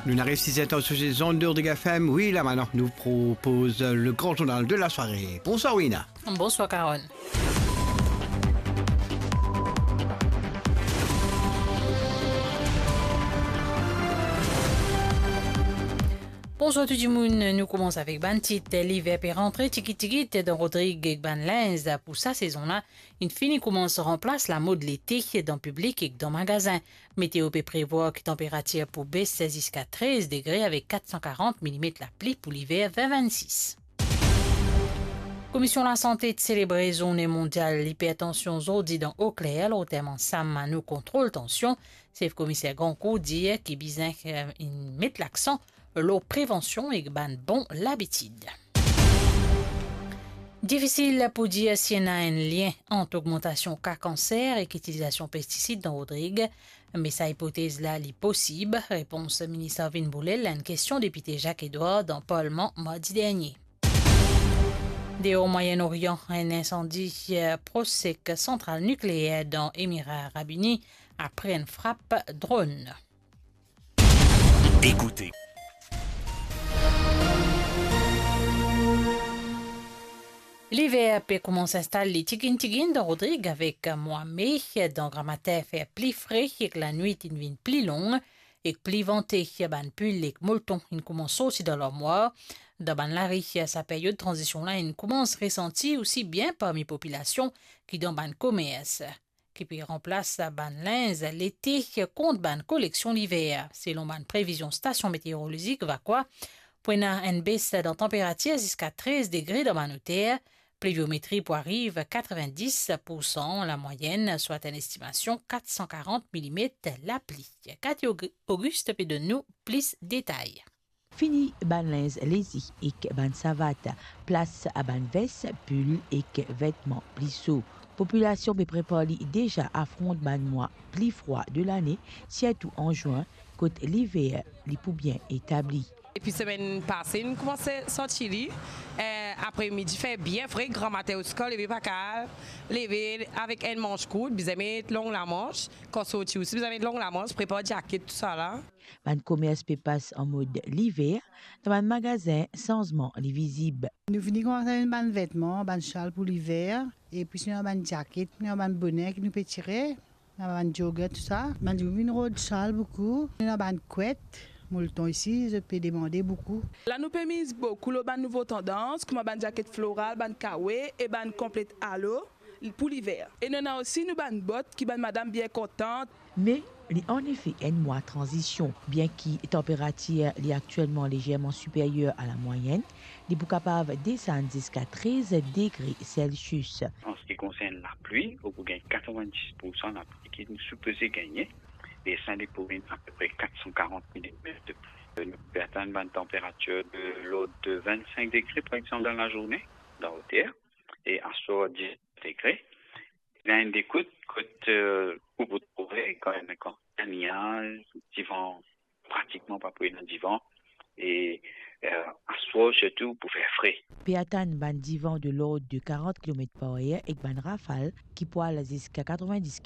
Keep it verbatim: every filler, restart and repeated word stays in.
Nou ariv siz er tan sou se zonn de Rodrig F M. Wi, la matant nou propoz le gran zournal de la sware. Bonswar, Wina. Bonswar, Carole. Bonswar tou dimoun, nou koumans avek bann tit. Liver pe rantre tigit tigit dan Rodrig ek bann linz pou sa sezon la inn fini koumans ranplas lamod lete dan piblik ek dan magazin. Meteo pe prevwar ki tanperatir pou bes ziska trez degre avek kat san karant milimet lapli pou liver vin vinn sis. Komisyon Lasante ti selebre Zourne Mondyal Lipertansion zordi dan Okler, lor tem Ansanm nou kontrol tansion. Sef Komiser Grancourt dir ki bizin, eh, met laksan lor prevansion ek bann bon labitid. Difisil pou dir si ena enn lien ant ogmantasion ka kanser ek itilizasion pestisid dan Rodrig, me sa ipotez la li posib, repons Minis Arvin Bourlel a enn kestion Depite Jacques Edouard dan Parlman mardi dernie. Deor Mwayen Orian, enn insandi, eh, pros ek santral nikleer dan Emira Arab Ini apre enn frap dronn. Écoutez. Liver pe koumans instal li tiginn tiginn dan Rodrig avek mwa me, dan gramatin fer pli fre ek lanwit inn vinn pli long ek pli vante. Bann pil ek molton inn koumans sorti dan larmwar. Dan bann lari, sa period tranzision la inn koumans resanti osi bien parmi popilasion ki dan bann komers, ki pe ranplas bann linz lete kont bann koleksion liver. Selon bann previzion stasion meteorolozik Vakwa, pou ena enn bes dan tanperatir ziska trez degre dan bann oter, pliviometri pou ariv katrevin-dis pou san lamwayenn, swa enn estimasion kat san karant milimet lapli. Cathy Aug-, Auguste pe donn nou plis detay. Fini bann linz lezi ek bann savat, plas a bann ves, pil ek vetman pli so. Popilasion pe prepar li deza afront bann mwa pli frwa de lane, sirtou an zwin, kot liver li pou bien etabli. Depi semenn pase, nou koumans santi li. Eh, apre midi fer bien fre, gramatin osi kan leve pa kapav leve avek enn manch kourt, bizin met long lamans. Kan sorti osi, bizin met long lamans, prepar djaket, tousala. Bann komers pe pas an mod liver, dan bann magazin sanzman li vizib. Nou fini koumans amenn bann vetman, bann sal pou liver, epi sinon bann djaket, nou bann bone ki nou pe tire, nou bann jogger, tousa. Bann dimoun vinn rod sal boukou, nou bann kwet, molton isi, zot pe demande boukou. La nou pe miz boukou lor bann nouvo tandans, kouma bann djaket floral, bann kawe e bann konplet alo pou liver. E nou ena osi nou bann bot ki bann madam bien kontan. Me li anefe enn mwa tranzision, bien ki tanperatir li aktielman lezerman siperyer a lamwayenn, li pou kapav desann ziska trez degre Celsius. An se ki konsern lapli, ou pou gagn katrevin-dis pou san lapli ki nou sipoze gagne, e sa li pou vinn apepre kat san karant milimet de pli. Nou pe atann bann tanperatir de lord de vinn-sink degre, par exanp, dan lazourne, dan oter, e aswar dis degre. Ena enn de kout, kot, eh, ou pou trouve kan, kan ena niaz, divan pratikman pa pou ena divan, e, eh, aswar sirtou pou fer fre. Pe atann bann divan de lord de karant kilomet par er ek bann rafal ki pou al ziska katrevin-dis